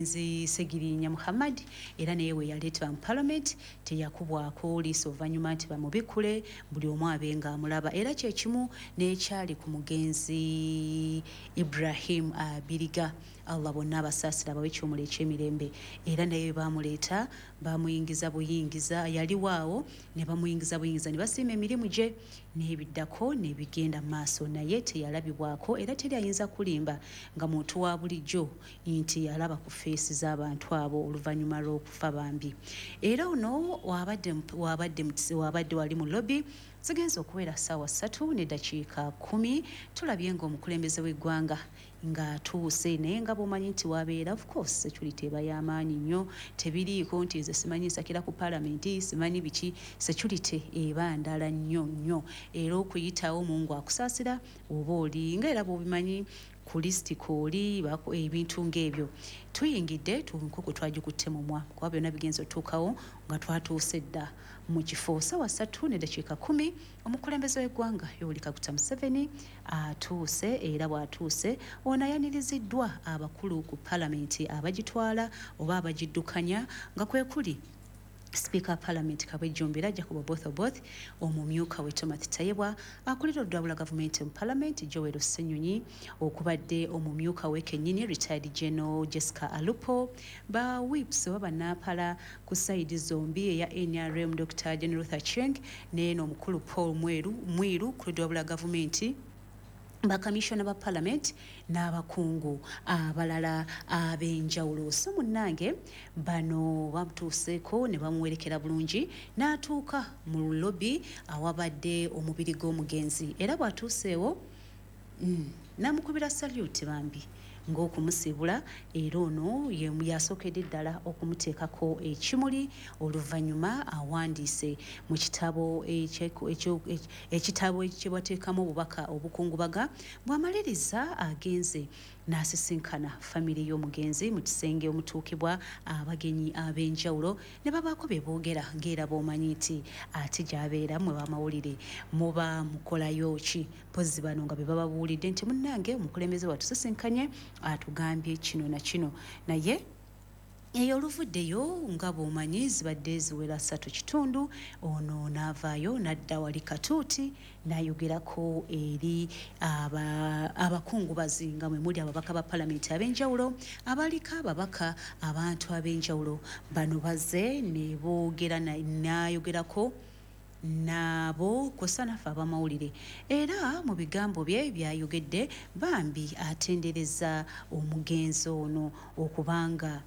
Omugenzi Ssegirinya Muhammad era naye we yaleetebwa mu Palamenti teyakubwako liiso oluvannyuma nti bamubikkule buli omu abe ng'amulaba era kye kimu n'ekyali ku mugenzi Ibrahim Abiriga. Allah bonna abasaasire abawe ekiwumulo eky'emirembe era naye bwe baamuleeta baamuyingiza buyingiza yaliwo awo ne bamuyingiza buyingiza ne basiima emirimu gye n'ebiddako ne bigenda mu maaso naye teyalabibwako era teri ayinza kulimba nga muntu wa bulijjo nti yalaba ku feesi z'abantu abo oluvannyuma lw'okufa bambi. Era ono wabadde wabadde wabadde wali mu lobby zigenze okuwera ssaawa 3:10 tulabye ng'omukulembeze w'eggwanga ng'atuuse naye nga bw'omanyi nti wabeera of course security eba y'amaanyi nnyo tebiriiko nti nze simanyi nsakira ku palamenti simanyi biki security eba ndala nnyo nnyo era okuyitawo Mungu akusaasira oba oli nga era bw'obimanyi ku list kwoli ebintu ng'ebyo. Tuyingidde enkoko twagikutte mumwa kuba byonna bigenze otuukawo nga twatuuse dda mu kifo. Ssaawa 3:10 omukulembeze w'eggwanga Yoweri Kaguta Museveni atuuse era bw'atuuse ono ayaniriziddwa abakulu ku palamenti abagitwala oba abagiddukanya nga kwekuli Sipiika wa Palamenti Kabwejjumbira Jacob Oboth Oboth, omumyuka we Timothy Tayebwa, akulira oludda gavumenti mu Palamenti Joel Ssenyonyi, okubadde omumyuka we kennyini retired General Jessica Alupo, ba whips oba bannampala ku sayidi zombi eya NRM Dr. Jane Ruth Aceng n'eno omukulu Paul Mweru Mwiru ku ludda lwa gavumenti, bakamishona ba palamenti n'abakungu abalala ab'enjawulo. So munnange bano bamutuuseeko ne bamuwerekera bulungi n'atuuka mu lobby awabadde omubiri gw'omugenzi era bw'atuuseewo n'amukubira salute bambi ng'okumusiibula era ono yasookedde ddala okumuteekako ekimuli oluvannyuma awandiise mu kitabo ekitabo kye bateekamu obubaka obukungubaga bw'amaliriza agenze n'asisinkana famire y'omugenzi mu kisenge omutuukibwa abagenyi ab'enjawulo ne babaako bye boogera ng'era bw'omanyi nti ate gy'abeera mmwe b'amawulire muba mukolayo ki mpozzi bano nga be bababuulidde nti munnange omukulembeze watusisinkanye atugambye kino na kino naye eyo oluvuddeyo nga bw'omanyi zibadde ziwera 3:15 ono n'avaayo n'adda wali katuuti n'ayogerako eri abakungubazi nga mwe muli ababaka ba palamenti ab'enjawulo abaliko ababaka abantu ab'enjawulo bano bazze ne boogera n'ayogerako nabo kw'ossa naffe ab'amawulire era mu bigambo bye by'ayogedde bambi atendereza omugenzi ono okubanga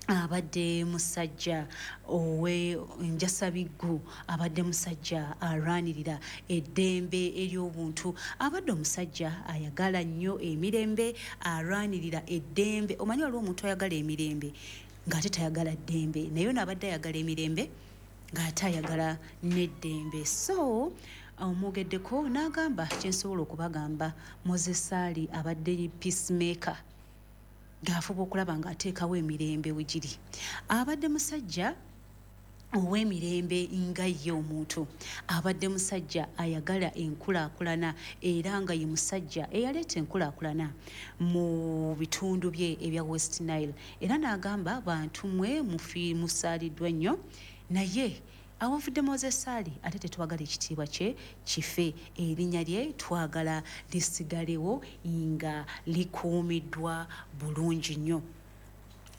abadde musajja owe njasabiggu abadde musajja alwanirira eddembe ery'obuntu abadde omusajja ayagala nnyo emirembe alwanirira eddembe omanyi waliwo omuntu ayagala emirembe ng'ate tayagala ddembe naye ono abadde ayagala emirembe ng'ate ayagala n'eddembe so omwogeddeko n'agamba kyensobola okubagamba Moses Ali abadde peacemaker ng'afuba okulaba ng'ateekawo emirembe we giri abadde musajja ow'emirembe nga ye omuntu abadde musajja ayagala enkulaakulana era nga ye musajja eyaleeta enkulaakulana mu bitundu bye ebya West Nile era n'agamba bantu mmwe musaaliddwa nnyo naye awavudde Moses Ali ate tetwagala ekitiibwa kye kife erinnya lye twagala lisigalewo nga likuumiddwa bulungi nnyo.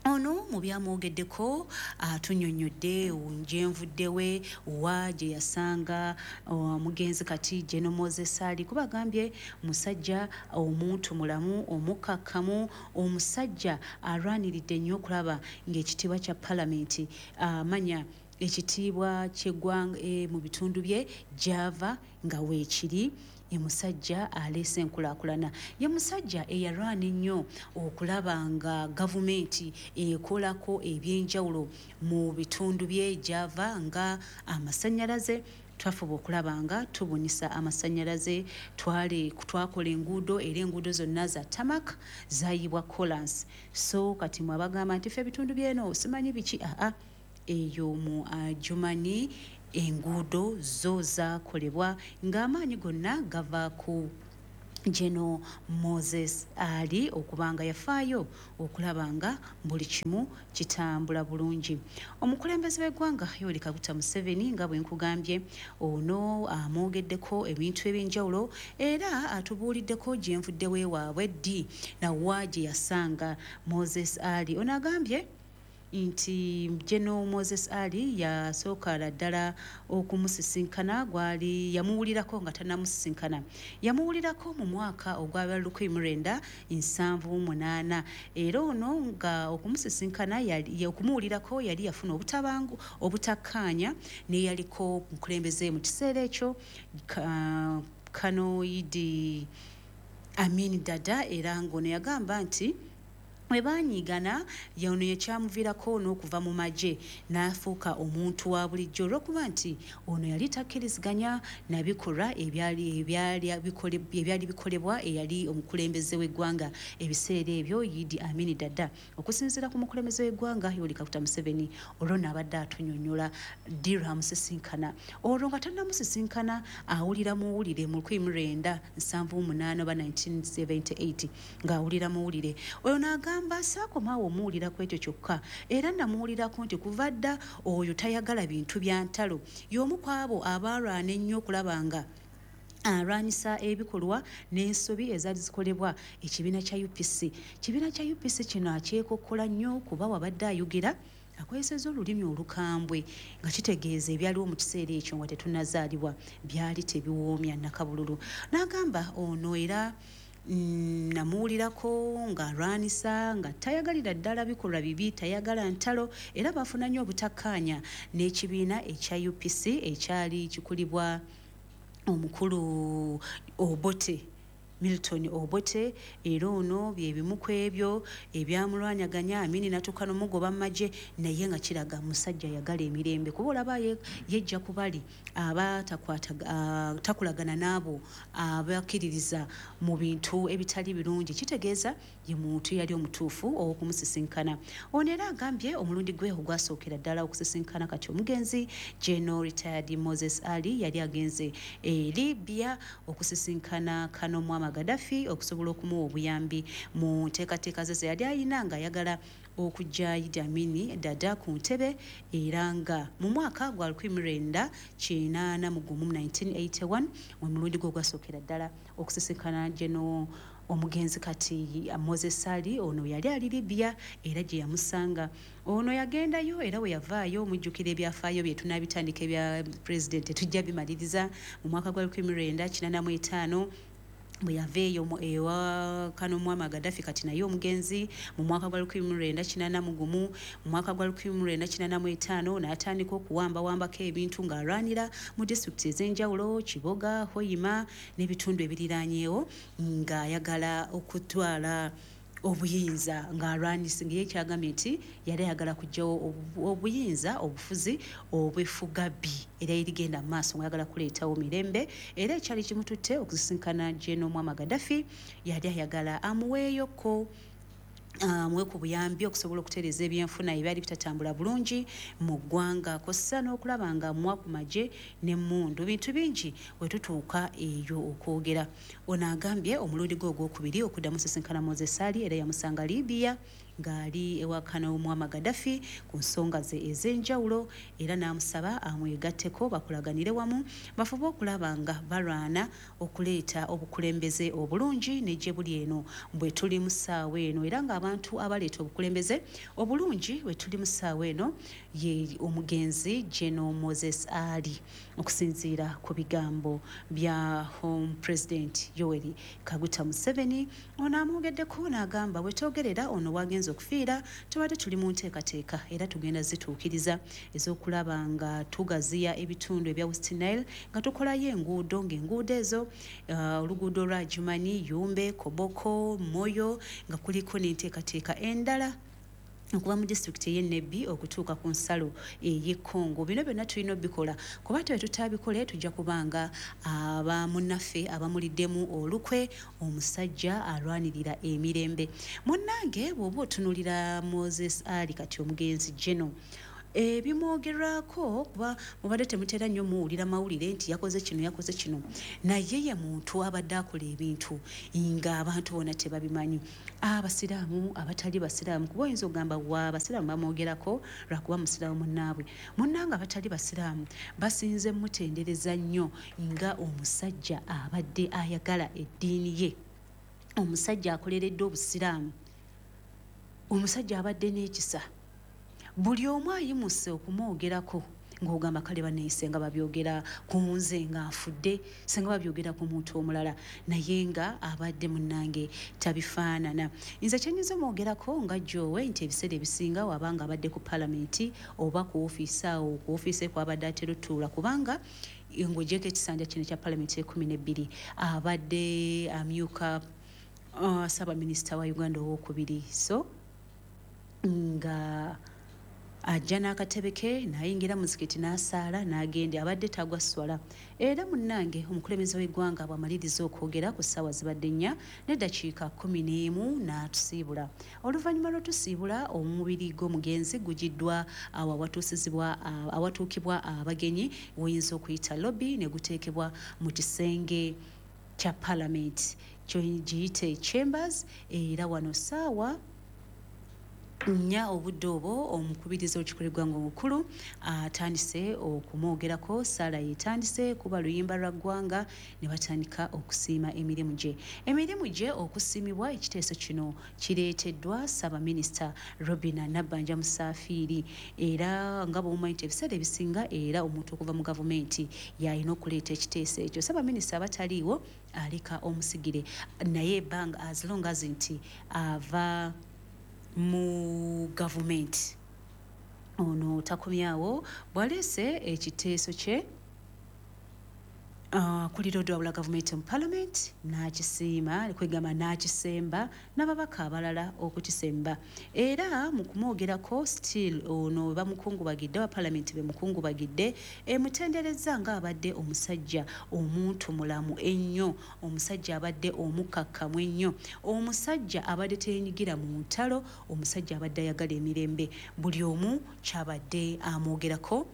Ono mu byamwogeddeko atunyonnyodde gyenvudde we wa gye yasanga omugenzi kati General Moses Ali kuba agambye musajja omuntu mulamu omukkakkamu omusajja alwaniridde nnyo okulaba ng'ekitiibwa kya palamenti amanya ekitiibwa ky'eggwanga mu bitundu bye gy'ava nga weekiri ye musajja aleese enkulaakulana ye musajja eyalwana ennyo okulaba nga gavumenti ekolako ebyenjawulo mu bitundu bye gy'ava nga amasannyalaze twafuba okulaba nga tubunisa amasannyalaze twakola enguudo era enguudo zonna za tamak zaayibwa kolans so kati mwe abagamba nti ffe ebitundu byeno simanyi biki aa eyo mu Germany enguudo zo zaakolebwa ng'amaanyi gonna gava ku General Moses Ali okuba nga yafaayo okulaba nga buli kimu kitambula bulungi. Omukulembeze w'eggwanga Yoweri Kaguta Museveni, nga bwe nkugambye, ono amwogeddeko ebintu ebyenjawulo era atubuuliddeko gye nvudde weewaabwe ddi nawa gye yasanga Moses Ali. Ono agambye nti General Moses Ali yasookera ddala okumusisinkana, gwali yamuwulirako nga tannamusisinkana, yamuwulirako mu mwaka ogwa 1978, era ono nga okumusisinkana okumuwulirako yali yafuna obutabangu obutakkaanya n'eyaliko mukulembeze mu kiseera ekyo, Colonel Idi Amin Dada, era ng'ono yagamba nti bwe baanyiigana ono yakyamuviirako n'okuva mu magye n'afuuka omuntu wa bulijjo, olw'okuba nti ono yali takkiriziganya na bikolwa ebyali bikolebwa eyali omukulembeze w'eggwanga ebiseera ebyo, Idi Amin Dada. Okusinziira ku mukulembeze w'eggwanga Yoweri Kaguta Museveni, olwo n'abadde atunyonnyola ddi lw'amusisinkana. Olwo nga tannamusisinkana awulira muwulire mu 1978 oba 1978, ng'awulira muwulire. Oyo n'agamba saakomaawo omuwulira ku ekyo kyokka, era namuwulirako nti kuva dda oyo tayagala bintu bya ntalo, y'omu ku abo abaalwana ennyo okulaba nga alwanyisa ebikolwa n'ensobi ezaali zikolebwa ekibiina kya UPC. Kibiina kya UPC kino akyekokkola nnyo kuba wabadde ayogera akozesezza olulimi olukambwe, nga kitegeeza ebyaliwo mu kiseera ekyo nga tetunnazaalibwa byali tebiwoomya nnakabululu. N'agamba ono era namuwulirako ng'alwanisa nga tayagalira ddala bikolwa bibi, tayagala ntalo, era baafuna nnyo obutakkaanya n'ekibiina ekya UPC ekyali kikulibwa omukulu Obote, Milton Obote, era ono bye bimu ku ebyo ebyamulwanyaganya Amini n'atuuka n'omugoba mu magye, naye nga kiraga musajja ayagala emirembe, kuba olaba yejja ku bali abatakulagana n'abo abakkiririza mu bintu ebitali birungi, kitegeeza ye muntu yali omutuufu ow'okumusisinkana. Ono era agambye omulundi gwe ogwasookera ddala okusisinkana kati omugenzi General Retired Moses Ali yali agenze e Libya okusisinkana Colonel Muammar Gaddafi okusobola okumuwa obuyambi mu nteekateeka ze ze yali ayina ng'ayagala okujja Idi Amin Dada ku ntebe, era nga mu mwaka gwa 1981 1981 omulundi gwe ogwasookera ddala okusisinkana General omugenzi kati Moses Ali. Ono yali ali Libya era gye yamusanga. Ono yagendayo era we yavaayo, mujjukira ebyafaayo bye tunaabitandika ebya pulezidenti tujja bimaliriza mu mwaka gwa 1985 bwe yava eyo ewa Colonel Muammar Gaddafi kati naye omugenzi mu mwaka gwa 1981. Mu mwaka gwa 1985 n'atandika okuwambawambako ebintu ng'alwanira mu disitulikiti ez'enjawulo, Kiboga, Hoima n'ebitundu ebiriraanyeewo, ng'ayagala okutwala obuyinza, ng'alwanisa nga ye kyagambye nti yali ayagala kuggyawo obuyinza obufuzi obw'effugabbi era erigenda mu maaso, ng'ayagala kuleetawo mirembe. Era ekyali kimututte okusisinkana General Muammar Gaddafi, yali ayagala amuweeyoko amuwe ku buyambi okusobola okutereeza ebyenfuna ebyali bitatambula bulungi mu ggwanga, kw'ossa n'okulaba nga amuwa ku magye n'emmundu, bintu bingi we tutuuka eyo okwogera. Ono agambye omulundi gwe ogwokubiri okuddamu sisinkana Moses Ali era yamusanga Libya ng'ali ewa Colonel Muammar Gaddafi ku nsonga ze ez'enjawulo, era n'amusaba amwegatteko bakolaganire wamu bafube okulaba nga balwana okuleeta obukulembeze obulungi ne gye buli eno bwe tuli mu ssaawa eno, era ng'abantu abaleeta obukulembeze obulungi bwe tuli mu ssaawa eno ye omugenzi General Moses Ali, okusinziira ku bigambo bya Home President Yoweri Kaguta Museveni. Ono amwogeddeko n'agamba bwe twogerera ono wagenze okufiira tubadde tuli mu nteekateeka era tugenda zituukiriza ez'okulaba nga tugaziya ebitundu ebya West Nile nga tukolayo enguudo, ng'enguudo ezo oluguudo lwa Jumani, Yumbe, Koboko, Moyo, nga kuliko n'enteekateeka endala okuva mu disitulikiti ey'e Nebbi okutuuka ku nsalo ey'e Congo. Bino byonna tulina obikola kuba twe tutabikole tujja kubanga abamunnaffe abamuliddemu olukwe omusajja alwanirira emirembe. Munnange bw'oba otunuulira Moses Ali kati omugenzi General, Ebimwogerwako kuba mubadde temutera nnyo muwulira mawulire nti yakoze kino, yakoze kino, naye ye muntu abadde akola ebintu ng'abantu bonna tebabimanyi, abasiraamu, abatali basiraamu. Kuba oyinza okugamba wa abasiraamu bamwogerako lwakuba musiraamu munnaabwe. Munnange abatali basiraamu basinze mutendereza nnyo nga omusajja abadde ayagala eddiini ye, omusajja akoleredde obusiraamu, omusajja abadde n'ekisa. Buli omu ayimuse okumwogerako ng'ogamba kale banneeyise nga babyogera ku nze nga nfudde, singa babyogera ku muntu omulala, naye nga abadde munnange tabifaanana. Nze kyenyinza omwogerako nga Jowe nti ebiseera ebisinga wabanga abadde ku palamenti oba ku ofiisi awo, ku ofiisi ekwabadde atera otuula, kubanga ng'ogyeko ekisanja kino ekya palamenti 12 abadde amyuka ssaabaminisita wa Uganda owokubiri. So nga ajja n'akatebe ke n'ayingira muzikiti n'asaala n'agenda, abadde tagwa swala. Era munnange omukulembeze w'eggwanga bw'amaliriza okwogera ku ssaawa zibadde 4:11 n'atusiibula. Oluvannyuma lw'otusiibula, omubiri gw'omugenzi gugiddwa awo awatuusizibwa, awatuukibwa abagenyi woyinza okuyita lobby, ne guteekebwa mu kisenge kya palamenti giyite chambers. Era wano ssaawa 4 obudde obwo omukubiriza olukiiko lw'eggwanga omukulu atandise okumwogerako. Saala yetandise kuba luyimba lwa ggwanga ne batandika okusiima emirimu gye. Emirimu gye okusiimibwa, ekiteeso kino kireeteddwa ssaabaminisita Robina Nabbanja Musaafiiri. Era nga bw'omumanyi nti ebiseera ebisinga era omuntu okuva mu gavumenti y'alina okuleeta ekiteeso ekyo, ssaabaminisita aba taliiwo aleka omusigire, naye ebbanga as long as nti ava mu gavumenti. Ono takomyawo bw'aleese ekiteeso kye akulira odwabula gavumenti mu palamenti n'akisiima, kwegamba n'akisemba n'ababaka abalala okukisemba. Era mu kumwogerako still ono bamukungubagidde, aba palamenti bemukungubagidde emutenderezza ng'abadde omusajja omuntu mulamu ennyo, omusajja abadde omukkakkamu ennyo, omusajja abadde teyenyigira mu ntalo, omusajja abadde ayagala emirembe. Buli omu kyabadde amwogerako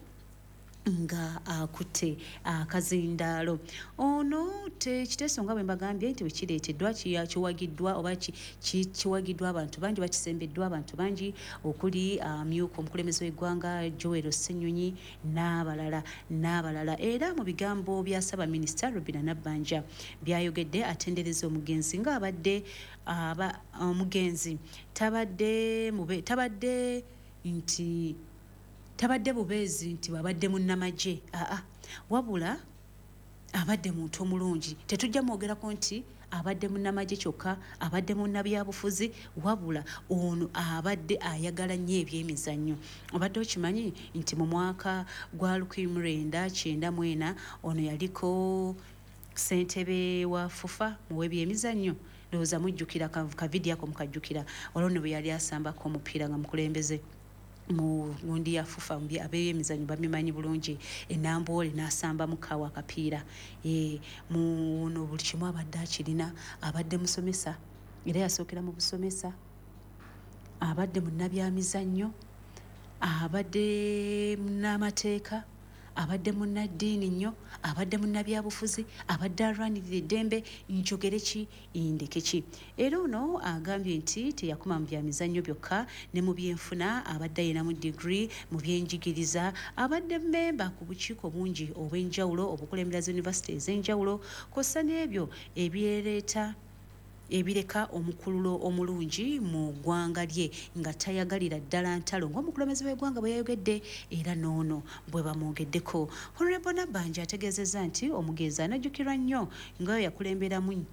nga akutte akazindaalo. Ono ekiteeso nga bwe mbagambye nti bwe kireeteddwa kiwagiddwa oba kiwagiddwa abantu bangi, bakisembeddwa abantu bangi okuli amyuka omukulembeze w'eggwanga Joel Ssenyonyi n'abalala n'abalala. Era mu bigambo bya ssaabaminisita Robina Nabbanja byayogedde, atendereza omugenzi ng'abadde omugenzi tabadde tabadde nti tabadde bubeezi nti babadde munnamagye, aa, wabula abadde muntu omulungi. Tetujja mwogerako nti abadde munnamagye kyokka, abadde munnabyabufuzi, wabula ono abadde ayagala nnyo ebyemizannyo. Obadde okimanyi nti mu mwaka gwa 1994 ono yaliko ssentebe wa FUFA mu w'ebyemizannyo? Ndowooza mujjukira kavidiyo ako, mukajjukira. Olwo nno bwe yali asambako omupiira nga mukulembeze mu gundi ya FUFA, ab'emizannyo babimanyi bulungi, enamboole n'asambamu kawa akapiira. Muno buli kimu abadde akirina. Abadde musomesa, era yasookera mu busomesa, abadde munnabyamizannyo, abadde munnamateeka, abadde munnaddiini nnyo, abadde munnabyabufuzi, abadde alwanirira eddembe. Njogere ki, ndeke ki? Era ono agambye nti teyakoma mu byamizannyo byokka, ne mu byenfuna abadde ayinamu digiri, mu byenjigiriza abadde mmemba ku bukiiko bungi obw'enjawulo obukulembera zi yunivasite ez'enjawulo, kw'ossa n'ebyo ebyereeta ebireka omukululo omulungi mu ggwanga lye, nga tayagalira ddala ntalo ng'omukulembeze w'eggwanga bwe yayogedde. Era n'ono bwe bamwogeddeko, Honorable Nabbanja ategeezezza nti omugenzi anajjukirwa nnyo nga yakulemberamu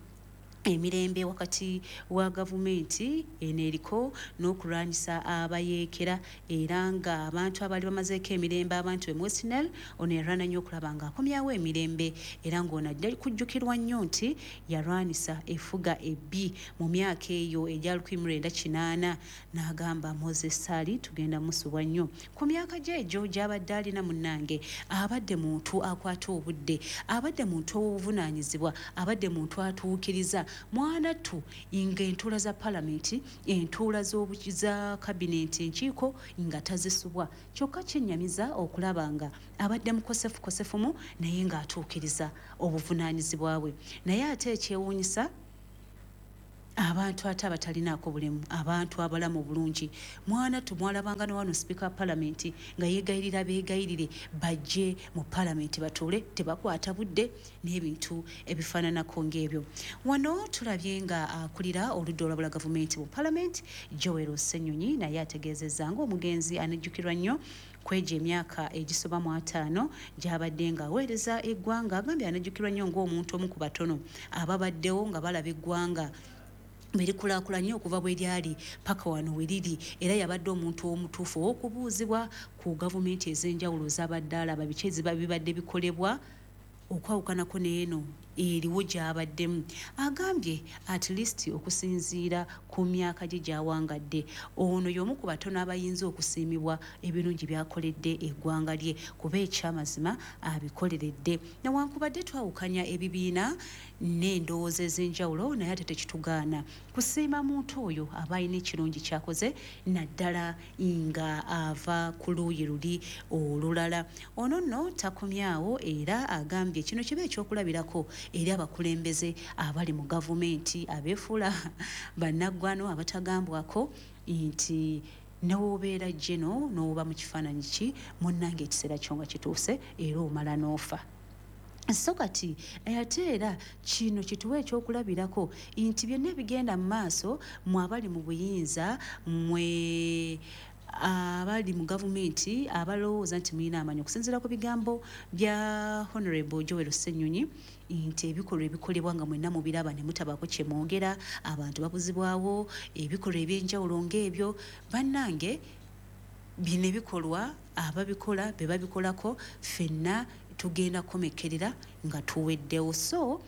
emirembe wakati wa gavumenti eno eriko n'okulwanyisa abayeekera, era nga abantu abaali bamazeeko emirembe abantu be West Nile, ono yalwana nnyo okulaba ng'akomyawo emirembe. Era ng'ono ajja kujjukirwa nnyo nti yalwanisa effuga ebbi mu myaka eyo egya 1980, n'agamba Moses Sali tugenda musubwa nnyo ku myaka gye egyo gy'abadde alina. Munnange abadde muntu akwata obudde, abadde muntu ow'obuvunaanyizibwa, abadde muntu atuukiriza. Mwanattu nga entuula za palamenti, entuula za kabinenti, enkiiko nga tazisubwa. Kyokka kyennyamiza okulaba nga abadde mukosefukosefumu naye ng'atuukiriza obuvunaanyizibwa bwe. Naye ate ekyewuunyisa, abantu ate abatalinaako bulemu, abantu abalamu obulungi, mwana tumwalabanga ne wano sipiika wa palamenti nga yeegayirira beegayirire bajje mu palamenti batuule, tebakwata budde n'ebintu ebifaananako ng'ebyo. Wano tulabye nga akulira oludda olwabula gavumenti mu palamenti, Joel Ssenyonyi, naye ategeezezza ng'omugenzi anejjukirwa nnyo kwegyo emyaka egisoba mu 50 gy'abadde ng'aweereza eggwanga. Agambye anejjukirwa nnyo ng'omuntu omu ku batono ababaddewo nga balaba eggwanga berikulaakulanye okuva bwe lyali paka wano we liri, era yabadde omuntu omutuufu ow'okubuuzibwa ku gavumenti ez'enjawulo z'abadde alaba biki eziba bibadde bikolebwa okwawukanako n'eno eriwo gy'abaddemu. Agambye at least okusinziira ku myaka gye gy'awangadde, ono y'omu ku batono abayinza okusiimibwa ebirungi by'akoledde eggwanga lye, kuba ekyamazima abikoleredde. Newankubadde twawukanya ebibiina n'endowooza ez'enjawulo, naye ate tekitugaana kusiima muntu oyo aba alina ekirungi ky'akoze, naddala nga ava ku luuyi luli olulala. Ono nno takomyawo, era agambye kino kiba ekyokulabirako eri abakulembeze abali mu gavumenti abeefuula bannaggwano abatagambwako nti newobeera geno n'oba mu kifaananyi ki, munnange ekiseera kyo nga kituuse era omala n'ofa. So kati ate era kino kituwa ekyokulabirako nti byonna ebigenda mu maaso, mwe abali mu buyinza, mwe abali mu gavumenti abalowooza nti mulina amaanyi, okusinziira ku bigambo bya Honorable Joel Ssenyonyi, nti ebikolwa ebikolebwa nga mwenna mubiraba ne mutabaako kye mwogera, abantu babuzibwawo, ebikolwa ebyenjawulo ng'ebyo, bannange bino ebikolwa ababikola be babikolako, ffenna tugenda kukomekkerera nga tuweddewo. So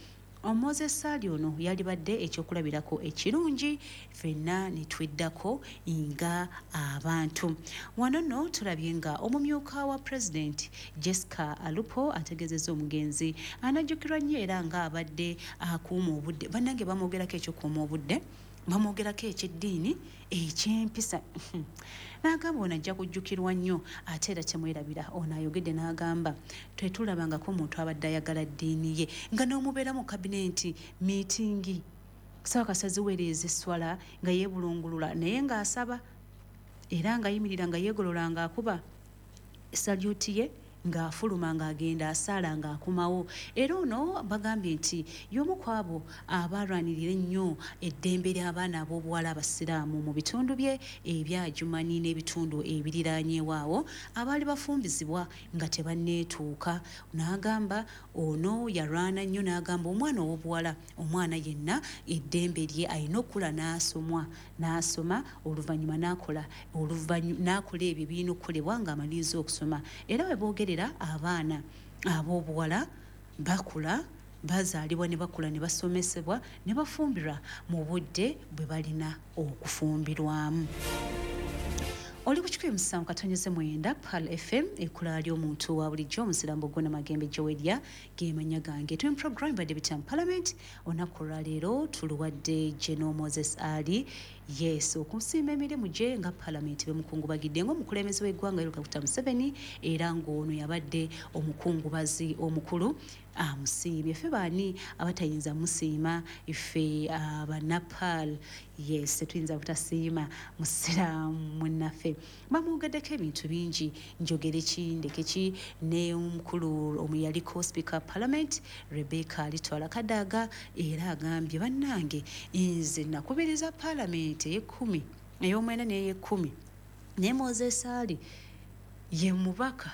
Moses Ali ono yalibadde ekyokulabirako ekirungi ffenna ne tweddako nga abantu. Wano nno tulabye nga omumyuka wa pulezidenti Jessica Alupo ategeezezza omugenzi anajjukirwa nnyo era ng'abadde akuuma obudde. Bannange bamwogerako ekyokuuma obudde, bamwogerako eky'eddiini, eky'empisa, n'agamba ono ajja kujjukirwa nnyo. Ate era temwerabira, ono ayogedde n'agamba tetulabangako omuntu abadde ayagala ddiini ye nga n'omubeera mu kabinenti miitingi sawa kasaziweereza esswala nga yeebulungulula, naye ng'asaba era ng'ayimirira nga yeegolola ng'akuba salyuti ye, ng'afuluma ng'agenda asaala ng'akomawo. Era ono bagambye nti y'omu ku abo abalwanirira ennyo eddembe ly'abaana ab'obuwala abasiraamu mu bitundu bye ebyajumani n'ebitundu ebiriraanyeewo awo abaali bafumbizibwa nga tebanneetuuka. N'agamba ono yalwana nnyo, n'agamba omwana ow'obuwala, omwana yenna eddembe lye alina okukula n'asomwa, n'asoma oluvannyuma n'akola, n'akola ebyo ebirina okukolebwa ng'amaliriza okusoma. Era we boogerera abaana ab'obuwala bakula, bazaalibwa ne bakula ne basomesebwa ne bafumbirwa mu budde bwe balina okufumbirwamu. Oli ku 107.9 Pearl FM, ekkula ly'omuntu wa bulijjo, omusirambo Ggona Magembe Joweria gemanya gange. Tuli mu program badde bitya mu parliament. Olunaku olwaleero tuluwadde General Moses Ali, yes, okusiima emirimu gye nga parliament bemukungubagidde ng'omukulembeze w'eggwanga Yoweri Kaguta Museveni, era ng'ono yabadde omukungubazi omukulu amusiimye. Ffe baani abatayinza musiima? Ffe abanapal, yes, tetuyinza butasiima musiraamu munnaffe. Bamwogeddeko ebintu bingi, njogere ki ndeke ki. Ne omukulu omuyaliko speaker parliament Rebecca Alitwala Kadaga era agambye bannange nze nakubiriza parliament ey'ekumi, ey'omwenda n'ey'ekumi, ne Moses Ali ye mubaka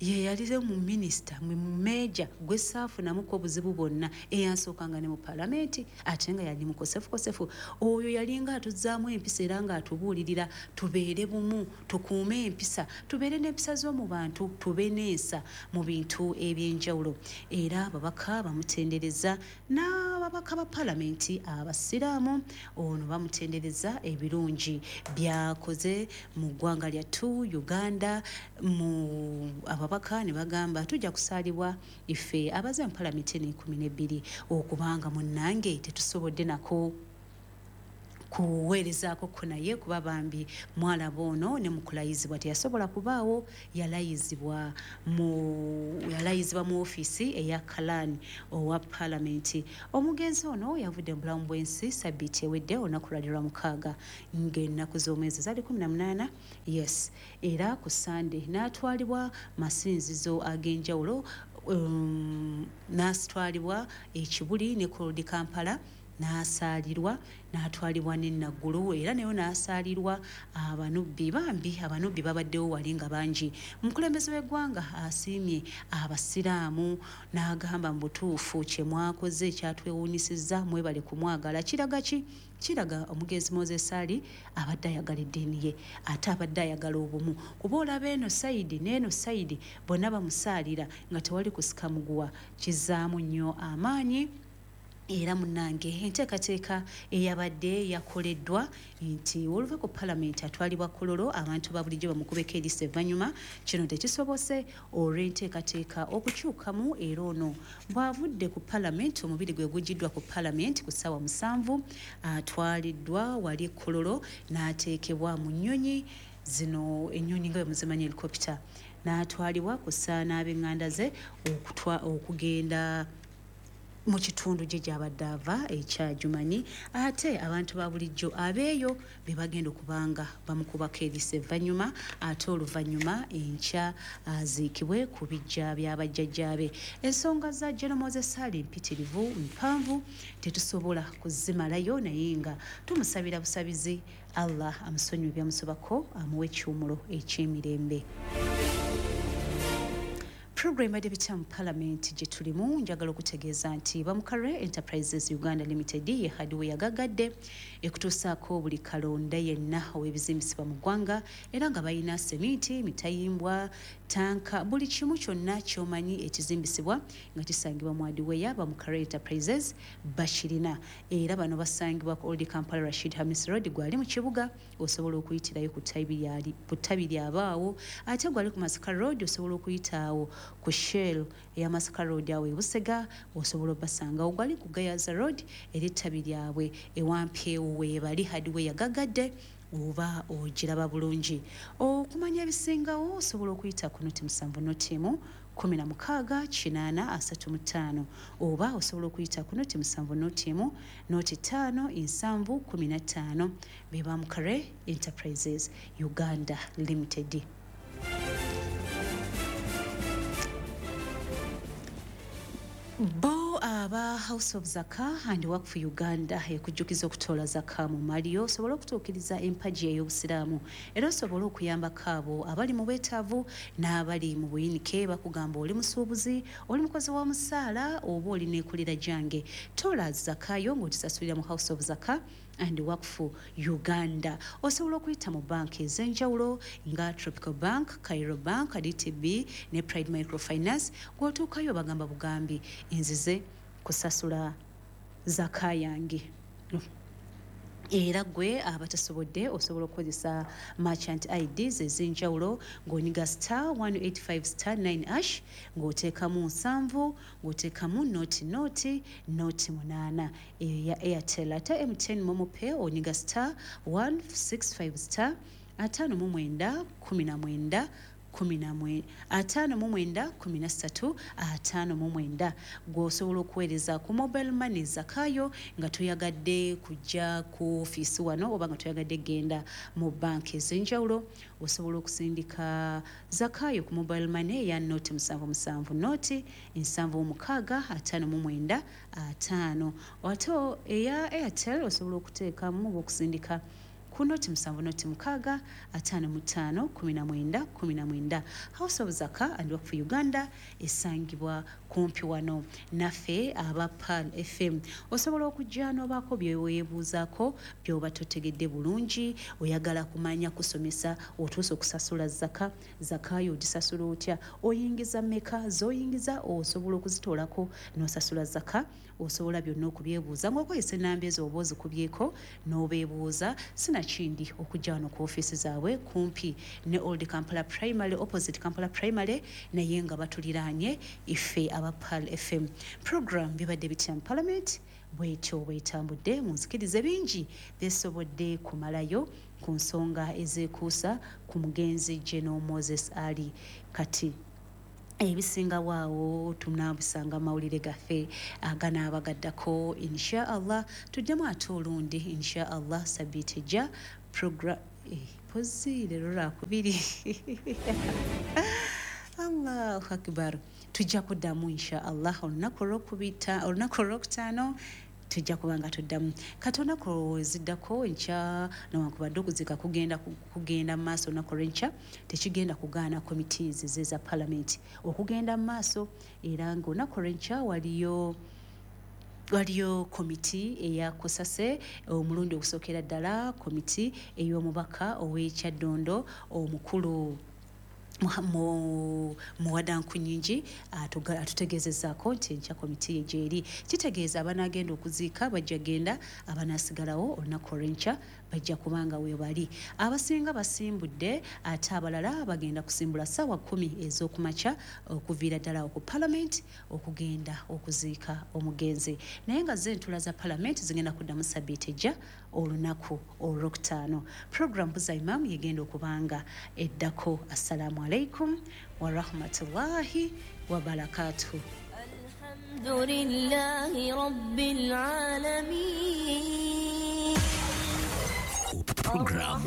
ye yalize mu minisita mu meeja gwe saafunamuko obuzibu bwonna, eyansookanga ne mu palamenti, ate nga yali mukosefukosefu. Oyo yalinga atuzzaamu empisa era ng'atubuulirira tubeere bumu, tukuume empisa, tubeere n'empisa z'omu bantu, tube n'ensa mu bintu ebyenjawulo. Era ababaka bamutendereza n'aba Ababaka ba palamenti abasiraamu ono bamutendereza ebirungi byakoze mu ggwanga lyattu Uganda. Mu ababaka ne bagamba tujja kusaalibwa ife abaze mu palamenti eno 12 okubanga munnange tetusobodde nako kuweerezaako ko, naye kuba bambi mwalaba ono ne mu kulayizibwa teyasobola kubaawo. Yalayizibwa mu ofiisi eya Kalan owa palamenti. Omugenzi ono yavudde mu bulamu bw'ensi sabbiiti ewedde, olunaku lwali lwa 6, ng'ennaku z'omwezi zaali 18. Yes, era ku Sande n'atwalibwa masinzizo ag'enjawulo, n'atwalibwa Ekibuli ne Old Kampala n'asaalirwa, n'atwalibwa ne Naggulu era nayo n'asaalirwa. Abanubbi bambi, abanubbi babaddewo wali nga bangi. Omukulembeze w'eggwanga asiimye abasiraamu n'agamba mu butuufu kye mwakoze kyatwewuunyisizza, mwebale kumwagala. Kiraga ki? Kiraga omugenzi Moses Ali abadde ayagala eddiini ye, ate abadde ayagala obumu, kuba olaba eno side n'eno side bonna bamusaalira nga tewali kusika muguwa. Kizaamu nnyo amaanyi. Era munnange, enteekateeka eyabadde yakoleddwa nti oluva ku palamenti atwalibwa Kololo, abantu ba bulijjo bamukubeko eriiso evvannyuma. Kino tekisobose olw'enteekateeka okukyukamu. Era ono bw'avudde ku palamenti, omubiri gwe gugiddwa ku palamenti ku ssaawa 7, atwaliddwa wali Kololo n'ateekebwa mu nnyonyi zino, ennyonyi nga bwe muzimanyi, helicopter, n'atwalibwa ku ssaana n'ab'eŋŋanda ze okugenda mu kitundu gye gyabadde ava ekyajumanyi. Ate abantu ba bulijjo abeeyo be bagenda okubanga bamukubako eriiso evvannyuma, ate oluvannyuma enkya aziikibwe ku bijja by'abajjajjaabe. Ensonga za General Moses Ali mpitirivu, mpanvu, tetusobola kuzimalayo, naye nga tumusabira busabizi Allah amusonyiwe byamusobako, amuwe ekiwumulo eky'emirembe. Program ebadde bitya mu palamenti gye tulimu? Njagala okutegeeza nti Bamukare Enterprises Uganda Limited ye hardware yagagadde ekutuusaako buli kalonda yenna ow'ebizimbisibwa mu ggwanga, era nga balina seminti, mitayimbwa, tanka, buli kimu kyonna ky'omanyi ekizimbisibwa nga kisangibwa mu hardware, Bamukare Enterprises bakirina. Era bano basangibwa ku Old Kampala, Rashid Hamis Road. Gwali mu kibuga osobola okuyitirayo ku ttabi lyabaawo, ate gwali ku Masaka Road osobola okuyitaawo ku Shell eya Masaka Road awo ebusega osobola obasangawo. Gwali ku Gayaza Road era ettabi lyabwe ewampeewo weebali. Hardware yagagadde oba ogiraba bulungi. Okumanya ebisingawo osobola okuyita ku 07 0 16 80 35, oba osobola okuyita ku 07 0 1 0 5 7 15. Be Bamukare Enterprises Uganda Limited. Bo aba House of Zaka and Wakfu Uganda ekujjukiza okutoola zaka mu maliyo osobole okutuukiriza empagi ey'obusiraamu, era osobole okuyambako abo abali mu bwetaavu n'abali mu buyinike. Bakugamba oli musuubuzi, oli mukozi wa musaala, oba oli neekulira gyange, toola zakayo ng'ogisasulira mu House of Zaka and Wakfu Uganda. Osobola okuyita mu banka ez'enjawulo nga Tropical Bank, Cairo Bank, DTB ne Pride Microfinance. Gw'otuukayo bagamba bugambi, nzize kusasula zaka yange. Era gwe abatasobodde osobola okukozesa merchant IDs ez'enjawulo ng'onyiga star 185 star 9 hash, ng'oteekamu 7, ng'oteekamu 0 0 0 8, eyo ya Airtel. Ate MTN MoMo Pay onyiga star 165 star 59 19 59 13 59. Gw'osobola okuweereza ku mobile money zakayo nga toyagadde kujja ku ofiisi wano oba nga toyagadde genda mu banka ez'enjawulo, osobola okusindika zakayo ku mobile money eya 077 0 76 59 50. Ate eya Airtel osobola okuteekamu oba okusindika Ku 076 55 19 19. House of Zaka and Work for Uganda esangibwa kumpi wano naffe aba Pearl FM. Osobola okujja n'obaako byeweebuuzaako by'oba totegedde bulungi, oyagala kumanya kusomesa otuuse okusasula zaka, zakayo ogisasula otya, oyingiza mmeka, z'oyingiza osobola okuzitoolako n'osasula zaka, osobola byonna okubyebuuza ng'okozesa ennamba ezo oba ozikubyeko n'obeebuuza. Sinakindi okujja wano ku ofiisi zaabwe kumpi ne Old Kampala Primary, opposite Kampala Primary, naye nga batuliraanye ife aba Pearl FM. Program bibadde bitya mu Parliament bwetyo bwetambudde. Munzikirize bingi byesobodde kumalayo ku nsonga ezeekuusa ku mugenzi General Moses Ali. Kati ebisinga waawo tunaabisanga mawulire gaffe aganaaba gaddako insha Allah. Tujjamu ate olundi insha Allah sabiiti ejja program pozi leero lwakubiri. Allahu akbar. Tujja kuddamu insha Allah olunaku olwokutaano tujja kuba nga tuddamu. Kati olunaku eziddako enkya, newankubadde okuziika kugenda mu maaso olunaku olw'enkya, tekigenda kugaana committees eza parliament okugenda mu maaso. Era ng'olunaku olw'enkya waliyo komiti eya Kusase, omulundi ogusookera ddala komiti ey'omubaka ow'ekyaddondo omukulu Muwada Nkunyingi atutegeezezaako nti enkya komiti ye gyeri. Kitegeeza abanaagenda okuziika bajja genda, abanaasigalawo olunaku olw'enkya bajja kubanga we bali. Abasinga basimbudde, ate abalala bagenda kusimbula ssaawa 10 ez'okumakya okuviira ddala ku Parliament okugenda okuziika omugenzi. Naye nga zo entula za Parliament zigenda kuddamu sabbiiti ejja olunaku olwokutaano. Program Buza Imam yegenda okubanga eddako. Assalamu alaikum wa rahmatullahi wa barakatuh. Alhamdulillahi rabbil alamin. Program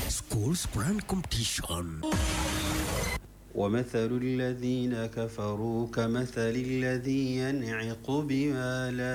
Schools Quran Competition. ومثل الذين كفروا كمثل الذي ينعق بما لا